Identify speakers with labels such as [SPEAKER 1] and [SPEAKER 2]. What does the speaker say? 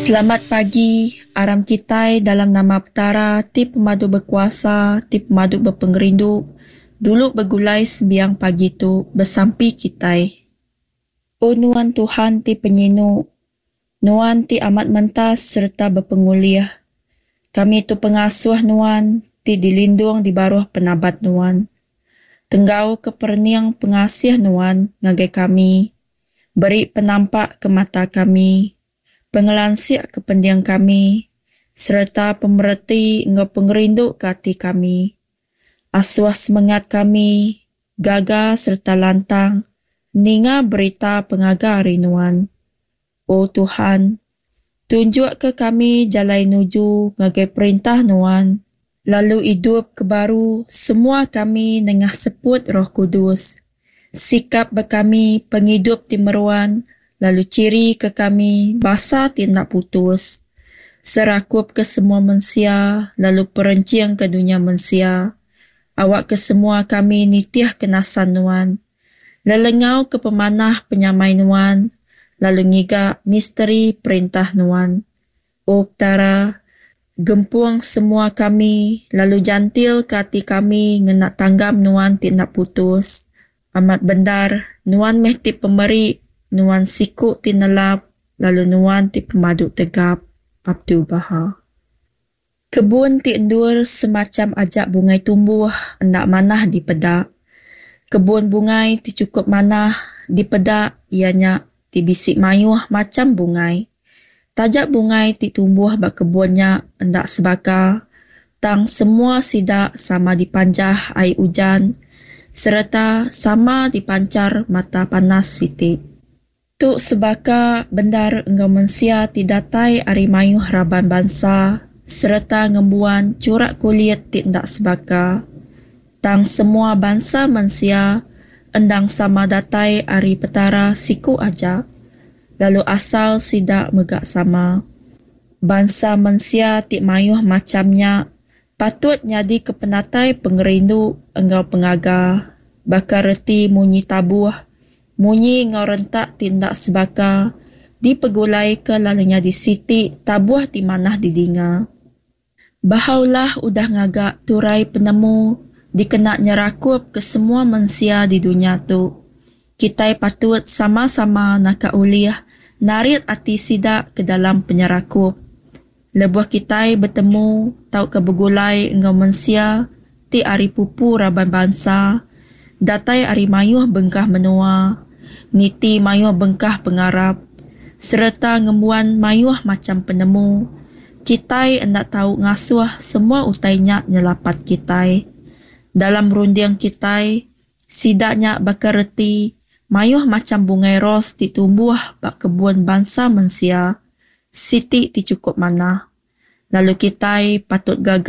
[SPEAKER 1] Selamat pagi, aram kitai dalam nama Petara ti pemadu bekuasa, ti pemadu bepengerindu, dulu begulai sembiang pagi tu besampi kitai. O Nuan Tuhan ti penyinu, Nuan ti amat mentas sereta bepengulih. Kami tu pengasuh Nuan ti dilindung di baruh penabat Nuan. Tenggauka perening pengasih Nuan ngagai kami, beri penampak ke mata kami, pengelansik ke pending kami, sereta pemereti enggau pengerindu ke ati kami. Asuh semengat kami gaga sereta lantang ninga berita pengaga ari Nuan. O Tuhan, tunjukka kami jalai nuju ngagai Perintah Nuan, lalu idupka baru semua kami nengah seput Roh Kudus. Sikap ba kami pengidup ti meruan lalu chirika kami basa ti enda putus. Serakupka semua mensia lalu perenchingka dunya mensia. Awakka semua kami nitihka nasan Nuan. Lelengau ke pemanah penyamai Nuan, lalu ngiga misteri Perintah Nuan. O Petara, gempung semua kami lalu jantilka ati kami ngena tanggam Nuan ti enda putus. Amat bendar, Nuan meh ti pemeri, Nuan siku ti nelap, lalu Nuan ti pemadu tegap. Abdul-Baha. Kebun ti endur semacham aja bungai tumbuh enda manah dipeda. Kebun bungai ti chukup manah dipeda iya nya ti bisi mayuh macham bungai. Taja bungai ti tumbuh ba kebun nya enda sebaka, tang semua sida sama dipanjah ai ujan sereta sama dipanchar mata panas siti. Tu sebaka bendar enggau mensia ti datai ari mayuh raban bansa sereta ngembuan churak kulit ti enda sebaka. Tang semua bansa mensia endang sama datai ari Petara siku aja, lalu asal sida mega sama. Bansa mensia ti mayuh macham nya patut nyadika penatai pengerindu enggau pengaga baka reti munyi tabuh Munyi enggau rentak ti enda sebaka dipegulaika lalu nyadi siti tabuh ti manah didinga. Bahá'u'lláh udah ngaga turai penemu dikena nyerakupka semua mensia di dunya tu. Kitai patut sama-sama naka ulih narit ati sida ke dalam penyerakup. Lebuh kitai betemu tauka begulai enggau mensia ti ari pupu raban bansa, datai ari mayuh bengkah menua, niti mayuh bengkah pengarap, sereta ngembuan mayuh macham penemu, kitai enda tau ngasuh semua utai nya nyelapat kitai. Dalam runding kitai, sida nya baka reti mayuh macham bungai ros ti tumbuh ba kebun bansa mensia. Siti ti chukup manah, lalu kitai patut gaga.